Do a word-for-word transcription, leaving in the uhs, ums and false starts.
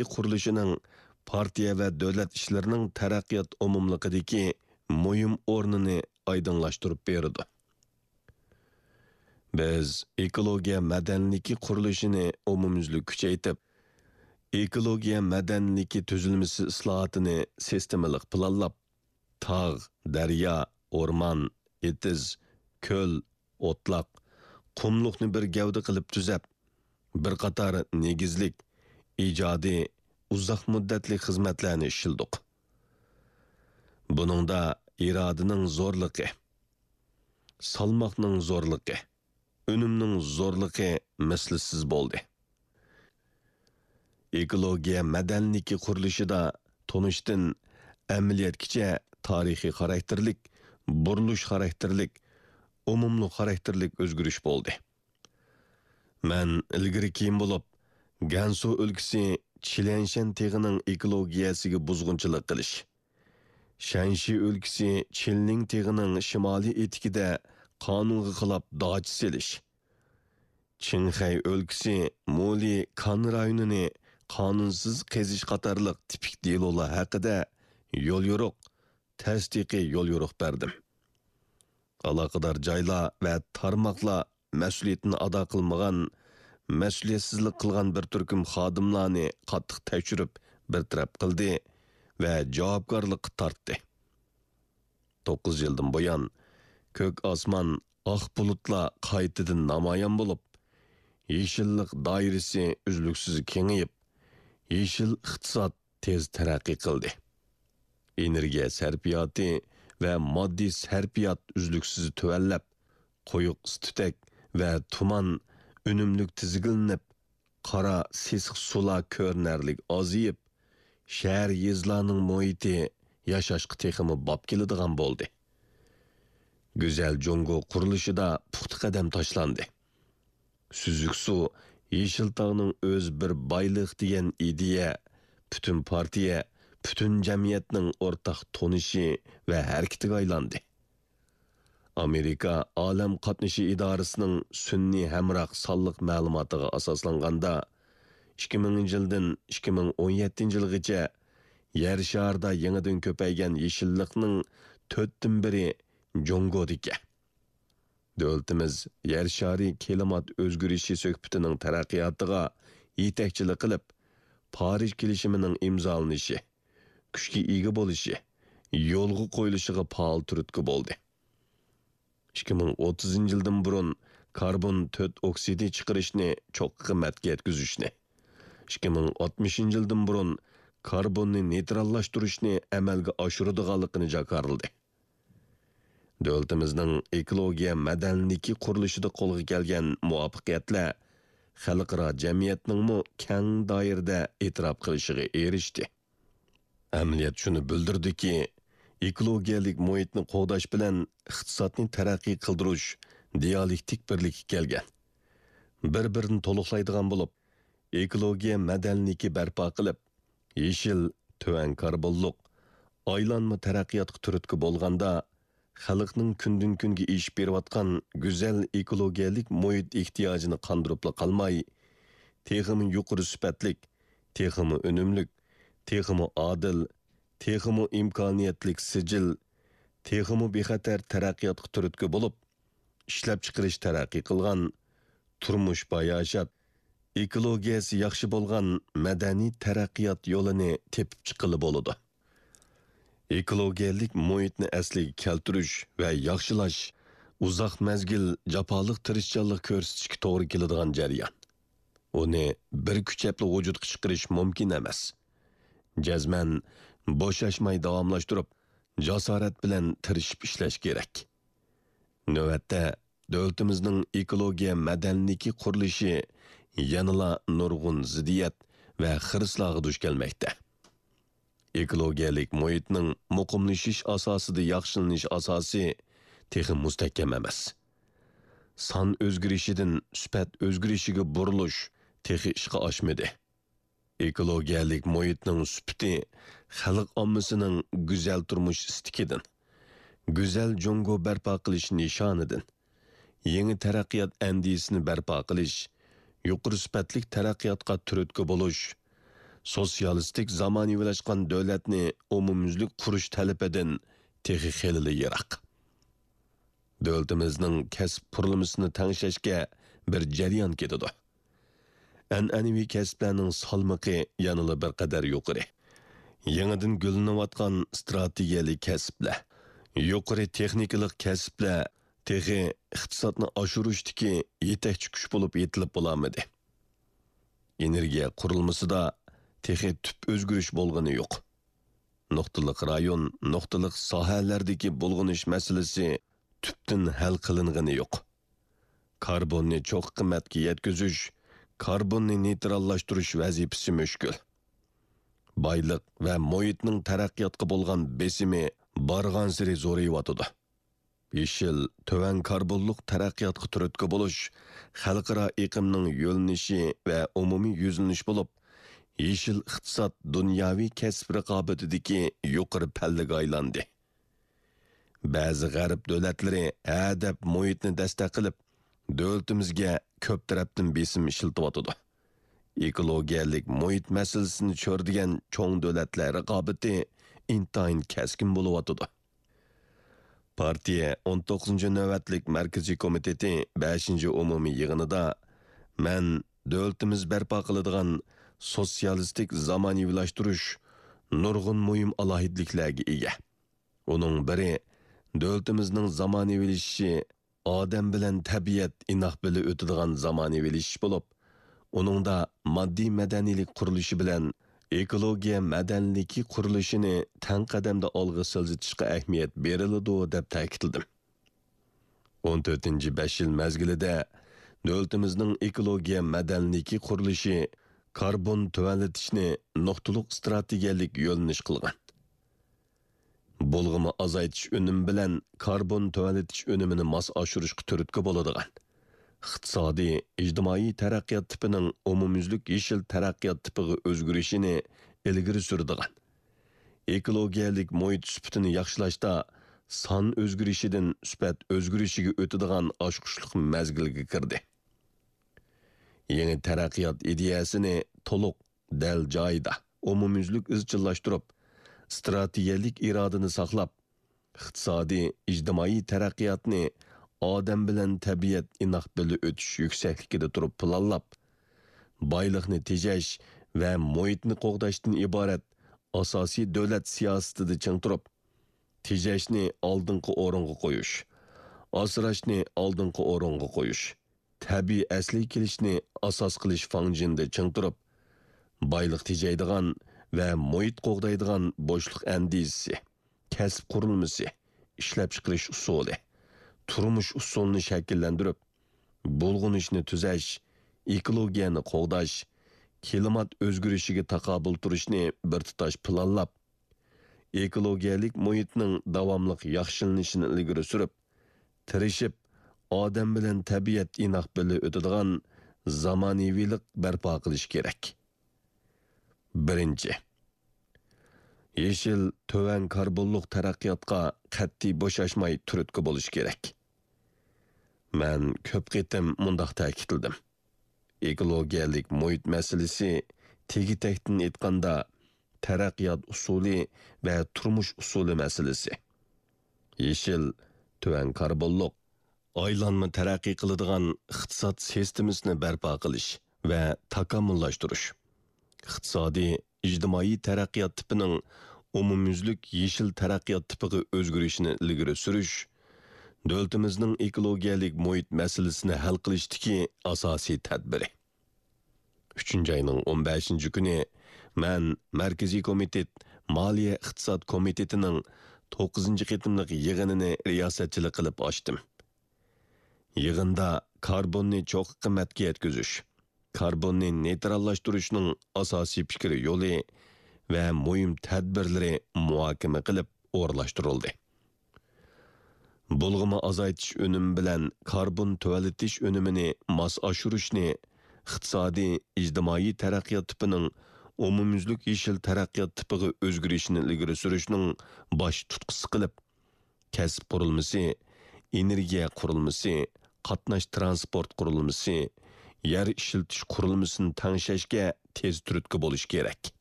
مەدەنىيىتى قۇرۇلۇشىنىڭ پارتىيە ۋە دۆلەت ئىشلىرىنىڭ تەرەققىيات ئومۇملۇقىدىكى مۇھىم ئورنىنى ئايدىڭلاشتۇرۇپ بېرىدۇ. بىز ئېكولوگىيە مەدەنىيلىكى قۇرۇلۇشىنى ئومۇميۈزلۈك كۈچەيتىپ، ئېكولوگىيە مەدەنىيلىكى تۈزۈلمىسى ئىسلاھاتىنى سىستېمىلىق پىلانلاپ، تاغ، دەريا، ئورمان، ئېتىز، كۆل، ئوتلاق، قۇملۇقنى بىر گەۋدە قىلىپ تۈزەپ، بىر قاتار نېگىزلىك، ئىجادىي، ئۇزاق مۇددەتلىك خىزمەتلەرنى ئىشلىدۇق. بۇنىڭدا ئىرادىنىڭ زورلۇقى، سالماقنىڭ زورلۇقى، ئۈنۈمنىڭ زورلۇقى مىسلىسىز بولدى. ئېكولوگىيە مەدەنىيلىكى قۇرۇلۇشىدا تونۇشتىن ئەمەلىيەتكىچە تارىخىي خاراكتېرلىك، بۇرۇلۇش خاراكتېرلىك، ئومۇملۇق خاراكتېرلىك ئۆزگىرىش بولدى. مەن ئىلگىرى كېيىن بولۇپ، گەنسۇ ئۆلكىسى چىليەنشەن تېغىنىڭ ئېكولوگىيەسىگە بۇزغۇنچىلىق قىلىش، شەنشى ئۆلكىسى چىلنىڭ تېغىنىڭ شىمالىي ئېتىكىدە قانۇنغا خىلاپ داچا سېلىش، چىڭخەي ئۆلكىسى مۇلى كان رايونىنى قانۇنسىز قېزىش قاتارلىق تىپىك دېلولار ھەققىدە يوليورۇق، تەستىقىي يوليورۇق بەردىم. ئالاقىدار جايلار ۋە تارماقلار مەسئۇلىيىتىنى ئادا قىلمىغان، مەسئۇلىيەتسىزلىك قىلغان بىر تۈركۈم خادىملارنى قاتتىق تەكشۈرۈپ بىر تەرەپ قىلدى ۋە جاۋابكارلىققا تارتتى. توققۇز يىلدىن بۇيان، كۆك ئاسمان، ئاق بۇلۇتلار قايتىدىن نامايان بولۇپ، يېشىللىق دائىرىسى ئۈزلۈكسىز كېڭىيىپ، يېشىل ئىقتىساد تېز تەرەققىي قىلدى. ئېنېرگىيە سەرپىياتى ۋە ماددىي سەرپىيات ئۈزلۈكسىز تۆۋەنلەپ، قويۇق ئىس-تۈتەك ۋە تۇمان ئۈنۈملۈك تىزگىنلىنىپ، قارا سېسىق سۇلار كۆرۈنەرلىك ئازىيىپ، شەھەر، يېزىلارنىڭ مۇھىتى ياشاشقا تېخىمۇ باب كېلىدىغان بولدى. گۈزەل جۇڭگو قۇرۇلۇشىدا پۇختا قەدەم تاشلاندى. سۈزۈك سۇ، يېشىل تاغنىڭ ئۆزى بىر بايلىق دېگەن ئىدىيە پۈتۈن پارتىيە، پۈتۈن جەمئىيەتنىڭ ئورتاق تونۇشى ۋە ھەرىكىتىگە ئايلاندى. ئامېرىكا ئالەم قاتنىشى ئىدارىسىنىڭ سۈنئىي ھەمراھ سانلىق مەلۇماتىغا ئاساسلانغاندا، ئىككى مىڭىنچى يىلدىن ئىككى مىڭ ئون يەتتىنچى يىلغىچە يەر شارىدا يېڭىدىن كۆپەيگەن يېشىللىقنىڭ تۆتتىن بىرى جۇڭگودىكەن. دۆلىتىمىز يەر شارى كىلىمات ئۆزگىرىشى سۆھبىتىنىڭ تەرەققىياتىغا يېتەكچىلىك قىلىپ، پارىژ كېلىشىمىنىڭ ئىمزالىنىشى، كۈچكە ئىگە بولۇشى، يولغا قويۇلۇشىغا پائال تۈرتكە بولدى. ئىككى مىڭ ئوتتۇزىنچى يىلدىن بۇرۇن كاربون تۆت ئوكسىدى چىقىرىشنى چوققا قىممەتكە يەتكۈزۈشنى، ئىككى مىڭ ئاتمىشىنچى يىلدىن بۇرۇن كاربوننى نېيتراللاشتۇرۇشنى ئەمەلگە ئاشۇرىدىغانلىقىنى جاكارلىدى. دۆلىتىمىزنىڭ ئېكولوگىيە مەدەنىيلىكى قۇرۇلۇشىدا قولغا كەلگەن مۇۋەپپەقىيەتلەر خەلقئارا جەمئىيەتنىڭمۇ كەڭ دائىرىدە ئېتىراپ قىلىشىغا ئېرىشتى. ئەمەلىيەت شۇنى بىلدۈردىكى، ئېكولوگىيەلىك مۇھىتنى قوغداش بىلەن ئىقتىسادنى تەرەققىي قىلدۇرۇش دىئالېكتىك بىرلىككە كەلگەن. بىر-بىرىنى تولۇقلايدىغان بولۇپ، ئېكولوگىيە مەدەنىيلىكى بەرپا قىلىپ، يېشىل، تۆۋەن كاربونلۇق، ئايلانما تەرەققىياتقا تۈرتكە بولغاندا، خەلقنىڭ كۈندىن-كۈنگە ئېشىپ بېرىۋاتقان گۈزەل ئېكولوگىيەلىك مۇھىت ئېھتىياجىنى قاندۇرۇپلا قالماي، تېخىمۇ يۇقىرى سۈپەتلىك، تېخىمۇ ئۈنۈملۈك، تېخىمۇ ئادىل، تېخىمۇ ئىمكانىيەتلىك سىجىل، تېخىمۇ بىخەتەر تەرەققىياتقا تۈرتكە بولۇپ، ئىشلەپچىقىرىش تەرەققىي قىلغان، تۇرمۇش باياشات، ئېكولوگىيەسى ياخشى بولغان مەدەنىي تەرەققىيات يولىنى تېپىپ چىققىلى بولىدۇ. ئېكولوگىيەلىك مۇھىتنى ئەسلىگە كەلتۈرۈش ۋە ياخشىلاش ئۇزاق مەزگىل جاپالىق تىرىشچانلىق كۆرسىتىشكە توغرا كېلىدىغان جەريان. ئۇنى بىر كۈچەپلا ۋۇجۇدقا چىقىرىش مۇمكىن ئەمەس. جەزمەن بوشاشماي داۋاملاشتۇرۇپ، جاسارەت بىلەن تىرىشىپ ئىشلەش كېرەك. نۆۋەتتە، دۆلىتىمىزنىڭ ئېكولوگىيە مەدەنىيلىكى قۇرۇلۇشى يەنىلا نۇرغۇن زىددىيەت ۋە خىرىسلارغا دۇچ كەلمەكتە. ئېكولوگىيەلىك مۇھىتنىڭ مۇقىملىشىش ئاساسىدا ياخشىلىنىش ئاساسى تېخى مۇستەھكەم ئەمەس. سان ئۆزگىرىشىدىن سۈپەت ئۆزگىرىشىگە بۇرۇلۇش تېخى ئىشقا ئاشمىدى. ئېكولوگىيەلىك مۇھىتنىڭ سۈپىتى خەلق ئاممىسىنىڭ گۈزەل تۇرمۇش ئىستىكىدىن، گۈزەل جۇڭگو بەرپا قىلىش نىشانىدىن، يېڭى تەرەققىيات ئەندىزىسىنى بەرپا قىلىش، يۇقىرى سۈپەتلىك تەرەققىياتقا تۈرتكە بولۇش، سوتسىيالىستىك زامانىۋىلاشقان دۆلەتنى ئومۇميۈزلۈك قۇرۇش تەلىپىدىن تېخى خېلىلا يىراق. دۆلىتىمىزنىڭ كەسىپ قۇرۇلمىسىنى تەڭشەشكە بىر جەريان كېتىدۇ. ئەنئەنىۋى كەسىپلەرنىڭ سالمىقى يەنىلا بىر قەدەر يۇقىرى. يېڭىدىن گۈللىنىۋاتقان ئىستراتېگىيەلىك كەسىپلەر، يۇقىرى تېخنىكىلىق كەسىپلەر تېخى ئىقتىسادنى ئاشۇرۇشتىكى يېتەكچى كۈچ بولۇپ يېتىلىپ بولالمىدى. ئېنېرگىيە قۇرۇلمىسىدا تېخى تۈپ ئۆزگىرىش بولغىنى يوق. نۇقتىلىق رايون، نۇقتىلىق ساھەلەردىكى بۇلغىنىش مەسىلىسى تۈپتىن ھەل قىلىنغىنى يوق. كاربوننى چوققا قىممەتكە يەتكۈزۈش، كاربوننى نېيتراللاشتۇرۇش ۋەزىپىسى مۈشكۈل. بايلىق ۋە مۇھىتنىڭ تەرەققىياتقا بولغان بېسىمى بارغانسېرى زورىيىۋاتىدۇ. يېشىل، تۆۋەن كاربونلۇق تەرەققىياتقا تۈرتكە بولۇش خەلقئارا ئېقىمنىڭ يۆنىلىشى ۋە ئومۇمىي يۈزلىنىش بولۇپ، يېشىل ئىقتىساد دۇنياۋى كەسىپ رىقابىتىدىكى يۇقىرى پەللىگە ئايلاندى. بەزى غەرب دۆلەتلىرى ھە دەپ مۇھىتنى دەستەك قىلىپ، دۆلىتىمىزگە كۆپ تەرەپتىن بېسىم ئىشلىتىۋاتىدۇ. ئېكولوگىيەلىك مۇھىت مەسىلىسىنى چۆرىدىگەن چوڭ دۆلەتلەر رىقابىتى ئىنتايىن كەسكىن بولۇۋاتىدۇ. پارتىيە ئون توققۇزىنچى نۆۋەتلىك مەركىزىي كومىتېتى بەشىنچى ئومۇمىي يىغىنىدا مەن دۆلىتىمىز بەرپا قىلىدىغان سوتسىيالىستىك زامانىۋىلاشتۇرۇش نۇرغۇن مۇھىم ئالاھىدىلىكلەرگە ئىگە. ئۇنىڭ بىرى، دۆلىتىمىزنىڭ زامانىۋىلىشىشى ئادەم بىلەن تەبىئەت ئىناق بىللە ئۆتىدىغان زامانىۋىلىشىش بولۇپ، ئۇنىڭدا ماددىي مەدەنىيلىك قۇرۇلۇشى بىلەن ئېكولوگىيە مەدەنىيلىكى قۇرۇلۇشىنى تەڭ قەدەمدە ئالغا سىلجىتىشقا ئەھمىيەت بېرىلىدۇ، دەپ تەكىتلىدىم. ئون تۆتىنچى بەش يىل مەزگىلىدە دۆلىتىمىزنىڭ ئېكولوگىيە مەدەنىيلىكى قۇرۇلۇشى كاربون تۆۋەنلىتىشنى نۇقتىلىق ئىستراتېگىيەلىك يۆنىلىش قىلغان. بۇلغىما ئازايتىش ئۈنۈمى بىلەن كاربون تۆۋەنلىتىش ئۈنۈمىنى ماس ئاشۇرۇشقا تۈرتكە بولىدىغان، ئىقتىسادىي، ئىجتىمائىي تەرەققىيات تىپىنىڭ ئومۇميۈزلۈك يېشىل تەرەققىيات تىپىغا ئۆزگىرىشىنى ئىلگىرى سۈرىدىغان، ئېكولوگىيەلىك مۇھىت سۈپىتىنى ياخشىلاشتا سان ئۆزگىرىشىدىن سۈپەت ئۆزگىرىشىگە ئۆتىدىغان ئاچقۇچلۇق مەزگىلگە كىردى. يېڭى تەرەققىيات ئىدىيەسىنى تولۇق، دەل جايىدا، ئومۇميۈزلۈك ئىزچىللاشتۇرۇپ، ئىستراتېگىيەلىك ئىرادىنى ساقلاپ، ئىقتىسادىي، ئىجتىمائىي تەرەققىياتنى ئادەم بىلەن تەبىئەت ئىناق بىللە ئۆتۈش يۈكسەكلىكىدە تۇرۇپ پىلانلاپ، بايلىقنى تېجەش ۋە مۇھىتنى قوغداشتىن ئىبارەت ئاساسىي دۆلەت سىياسىتىدە چىڭ تۇرۇپ، تېجەشنى ئالدىنقى ئورۇنغا قويۇش، ئاسراشنى ئالدىنقى ئورۇنغا قويۇش، تەبىئىي ئەسلىگە كېلىشنى ئاساس قىلىش فاڭجېنىدا چىڭ تۇرۇپ، بايلىق تېجەيدىغان ۋە مۇھىت قوغدايدىغان بوشلۇق ئەندىزىسى، كەسىپ قۇرۇلمىسى، ئىشلەپچىقىرىش ئۇسۇلى، تۇرمۇش ئۇسۇلىنى شەكىللەندۈرۈپ، بۇلغىنىشنى تۈزەش، ئېكولوگىيەنى قوغداش، كىلىمات ئۆزگىرىشىگە تاقابىل تۇرۇشنى بىر تۇتاش پىلانلاپ، ئېكولوگىيەلىك مۇھىتنىڭ داۋاملىق ياخشىلىنىشىنى ئىلگىرى سۈرۈپ، تىرىشىپ، ئادەم بىلەن تەبىئەت ئىناق بىللە ئۆتىدىغان زامانىۋىلىق بەرپا قىلىش كېرەك. بىرىنچى، يېشىل، تۆۋەن كاربونلۇق تەرەققىياتقا قەتئىي بوشاشماي تۈرتكە بولۇش كېرەك. مەن كۆپ قېتىم مۇنداق تەكىتلىدىم: ئېكولوگىيەلىك مۇھىت مەسىلىسى، تېگى-تەكتىن ئېيتقاندا، تەرەققىيات ئۇسۇلى ۋە تۇرمۇش ئۇسۇلى مەسىلىسى. يېشىل، تۆۋەن كاربونلۇق، ئايلانما تەرەققىي قىلىدىغان ئىقتىساد سىستېمىسىنى بەرپا قىلىش ۋە تاكامۇللاشتۇرۇش، ئىقتىسادىي، ئىجتىمائىي تەرەققىيات تىپىنىڭ ئومۇميۈزلۈك يېشىل تەرەققىيات تىپىغا ئۆزگىرىشىنى ئىلگىرى سۈرۈش، دۆلىتىمىزنىڭ ئېكولوگىيەلىك مۇھىت مەسىلىسىنى ھەل قىلىشتىكى ئاساسىي تەدبىرى. ئۈچىنچى ئاينىڭ ئون بەشىنچى كۈنى مەن مەركىزىي كومىتېت مالىيە ئىقتىساد كومىتېتىنىڭ توققۇزىنچى قېتىملىق يىغىنىنى رىياسەتچىلىك قىلىپ ئاچتىم. يىغىندا كاربوننى چوققا قىممەتكە يەتكۈزۈش، كاربوننى نېيتراللاشتۇرۇشنىڭ ئاساسىي پىكرى يولى ۋە مۇھىم تەدبىرلىرى مۇھاكىمە قىلىپ ئورۇنلاشتۇرۇلدى. بۇلغىما ئازايتىش ئۈنۈمى بىلەن كاربون تۆۋەنلىتىش ئۈنۈمىنى ماس ئاشۇرۇشنى ئىقتىسادىي، ئىجتىمائىي تەرەققىيات تىپىنىڭ ئومۇميۈزلۈك يېشىل تەرەققىيات تىپىغا ئۆزگىرىشىنى ئىلگىرى سۈرۈشنىڭ باش تۇتقىسى قىلىپ، كەسىپ قۇرۇلمىسى، ئېنېرگىيە قۇرۇلمىسى، قاتناش تىرانسپورت قۇرۇلمىسى، يەر ئىشلىتىش قۇرۇلمىسىنى تەڭشەشكە تېز تۈرتكە بولۇشى كېرەك.